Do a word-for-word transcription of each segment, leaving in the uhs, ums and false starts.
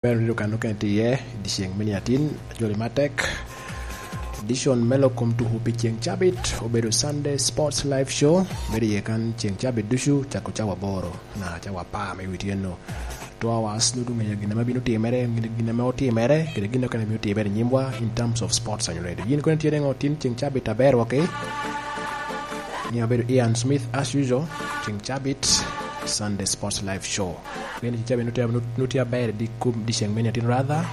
Ber wunu kan okene tye iye, i dyeceŋ me niatin, ajoli matek. Edition me lok kom tuku pi ceŋ cabit obedo Sunday Sports Live Show. Bedo iye kan ceŋ cabit ducu, cako cawa aboro, naka cawa apar me wi tyeno. Two hours, nwoŋo ŋeyo gin ame bino timere, gin, gin ame otimere, kede gin okene bino timere i nyimwa in terms of sports and radio. Yin kono tye niŋo tin ceŋ cabit aber waki? Ni abedo Ian Smith as usual, ceŋ cabit, Sunday Sports Live Show. Pien ceŋ cabit nutye, nut-, nutye aber di kum di ceŋ me niatin rather.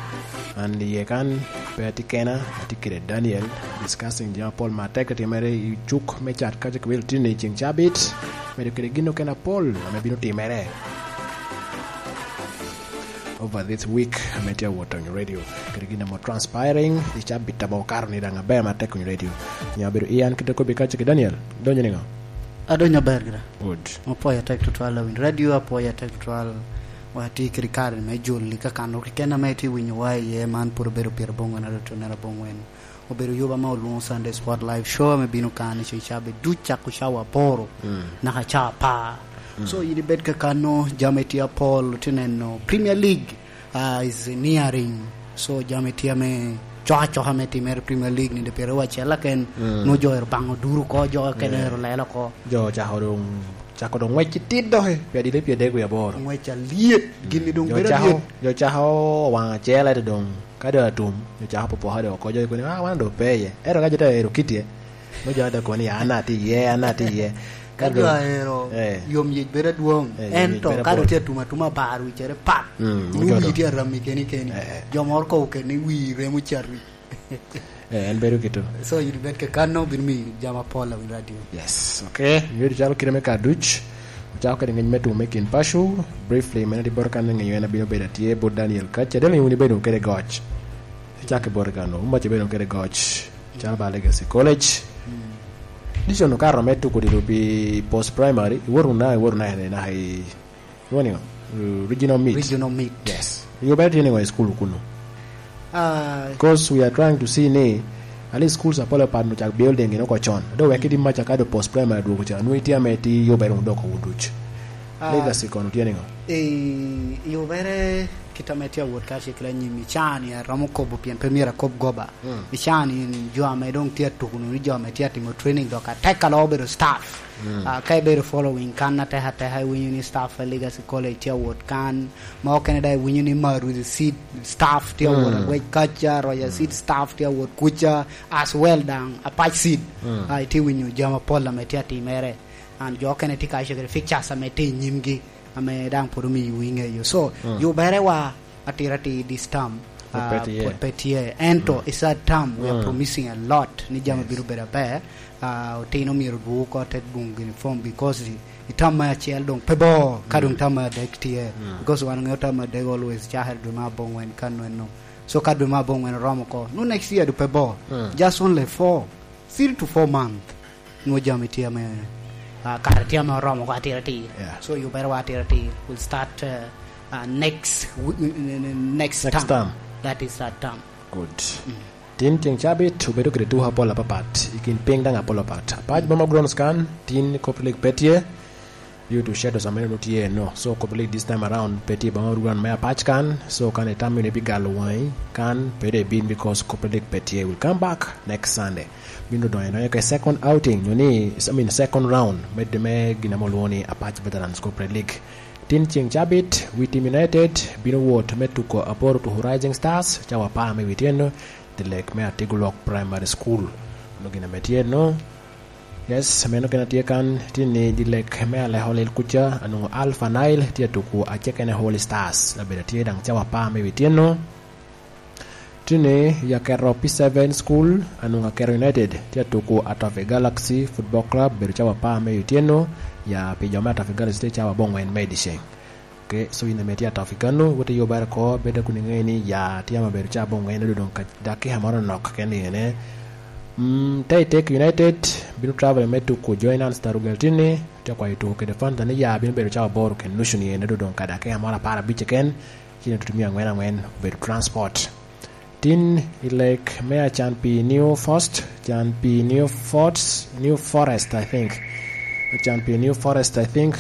An iye kan, pe atye kena, atye kede Daniel, discussing jami apol ma tek timere i cuk me cat kaca kibelo tini ceŋ cabit. Medo kede gin okene apol ame bino timere over this week ame tye awot on radio. Kede gin ame transpiring, i cabit ame okato ni daŋ aber matek on radio. Ni abedo Ian kite kobbi kaca ki Daniel. Donyo niŋo? Adonyo aber gira. Good. Apwoyo atek tutwal awiny radio, apwoyo atek tutwal wa tye kede kare me joli ka kan ru keken ame tye winyo wa iye, man pwod obedo pira bongwen ado tunera bongwen. Obedo yuba ma olwoŋo Sunday Sport Live Show ame bino kan i ceŋ cabit duc cako cawa aboro, mm, naka cawa apar. Mm. So, yin ibed kakano, jami tye apol, tye neno Premier League, ah, is nearing. So, jami tye ame coka coka me timere Premier League ni, de pire wa acel aken, mm, nwoŋo jo ero baŋo duru oko, jo kene, eh, ero lelo oko. Jo ocako doŋ, cako doŋ ngwec i tit doki, pi adili pi adek wiye aboro. Ngwec alyet, gin-ni doŋ jo bedo cako, alyet. Jo cako waŋ acel, ento doŋ ka doŋ atum, jo cako popoka doŋ oko, jo koni, "Ah, wan doŋ pe iye." Ento ka jo te ero kitye, nwoŋo jo te koni, "An atye iye, an atye iye." Ka jo ero, eh, yom yec bedo adwoŋ, eh, yom yec ento bedo ka doŋ apol. Tye atum atuma bar wicere pat, mm, nwoŋo jo wii doŋ tye arammi keni keni. Eh, eh. Jo moro kobo keni wii remo cati. Eh, en bedo kito. So, yin ibed kakano, bino miyo jami apol awiny radio. Yes, okay. Miyo calo kite me kaduc, ocako kede ngec me tumo me kin paco. Briefly, mene di boro kan ŋeyo en abino bedo atye bot Daniel kaca. Daniel, wun ibedo kede goc. Icak i bot kano, wun mac ibedo kede goc. Calo ba Legacy College. Mm. Dicon okato me tuko dilo pi post primary, iwoto na, iwoto na, na, na, Iwinyo niŋo? Uh, regional meet. Regional meet. Yes. Yo bene tye niŋo i school kunu? Ah. Because we are trying to see ni, at least schools apol apat onyo cak building gin oko con. Do wek idi maca ka do post primary dwogo ca. Nwoŋo itye ame ti yo bene odoko wun duc. Ah. Legacy kono tye niŋo? Eh, yo bene kit ame tye awot ka cik la nyim i caa ni aromo kobo pien pe myero akob goba. Mm. I caa ni jo ame doŋ tye atuko ni jo ame tye atimo training dok atek alo obedo staff. Mm. Ah, ka ibedo following kan atek ateka, iwinyo ni staff a Legacy College tye awot kan, ma okene daŋ iwinyo ni Maruzi Seed staff tye awot, mm, agwec kaca, Roger Seed, mm, staff tye awot kuca, as well daŋ Apac Seed. Mm. Ah, itye winyo jami apol ame tye atimere. And jo okene tye ka cegere pictures ame tye i nyimgi, ame daŋ pwod omiyo iŋeyo. So, mm, yubere wa atira atir this term, pwod pe, ah, tye, pwod pe tye. Ento, mm, i third term, we are, mm, promising a lot ni jami, yes, bino bedo aber. Ah, otino myero odwogo oko te dwoŋo gini form because i, i term me acel doŋ pe bor, ka, mm, doŋ term me adek tye. Mm. Because wan oŋeo term me adek always cakere dwe me abongwen ka nweno. So ka dwe me abongwen oromo oko, no next year doŋ pe bor. Mm. Just only four, three to four months. Nwoŋo jami tye ame, ah, kare tye ame oromo oko atir atir. Yeah. So, yubere wa atir atir. We'll start, uh, uh, next w-, n-, n-, n-, next, next term, term. That is third term. Good. Mm. Tin ceŋ cabit obedo kede tuko apol apapat, i kin piny daŋ apol apat. Apac boma grounds kan, tin Copper League pe tye, due to shadows ame nongo tye eno. So, Copper League this time around pe tye boma ground me Apac kan. So, kan itam ni bigalo waŋi kan, pe dong ibin because Copper League pe tye. We'll come back next Sunday. Bino donyo, donyo ke second outing, nyo ni, I mean, second round, me, me gin ame olwoŋo ni Apac Veterans Copper League. Tin ceŋ cabit, Witim United bino wot me tuko aboro tuko Rising Stars, cawa apar me wi tyeno, the lake me Atigulok Primary School. Ono gin ame tye no, Yes, meno kena tye kan, tye ni di lek me Aleko Lil kuca, anwoŋo Alpha Nile tye atuku acekene Holy Stars, labedo tye daŋ cawa apar me wi tyeno. Tye ni i Aketo P seven School, anwoŋo Aketo United tye atuku Atofi Galaxy Football Club, bedo cawa apar me wi tyeno, ya pi jo me Atofi Galaxy tye cawa abongwen me dyeceŋ. Ke, so in ame tye atop i kano, wot i yubere oko, bed kun iŋeyo ni ya tye ame obedo ca abongwen, odoŋ ka dakika moro nok keken i ene. Mm, Taitek United bino travel me tuko Joy Nuns Tarugel tinni, tye kwayo tuko kede Fanta ni ya bino bedo ca aboro kede nucu ni ene, odoŋ ka dakika moro apar abic keken, ci itutu miya angwen angwen obedo transport. Tin i lek me acan pi New First, can pi New Forest, New Forest, I think. Acan pi New Forest, I think.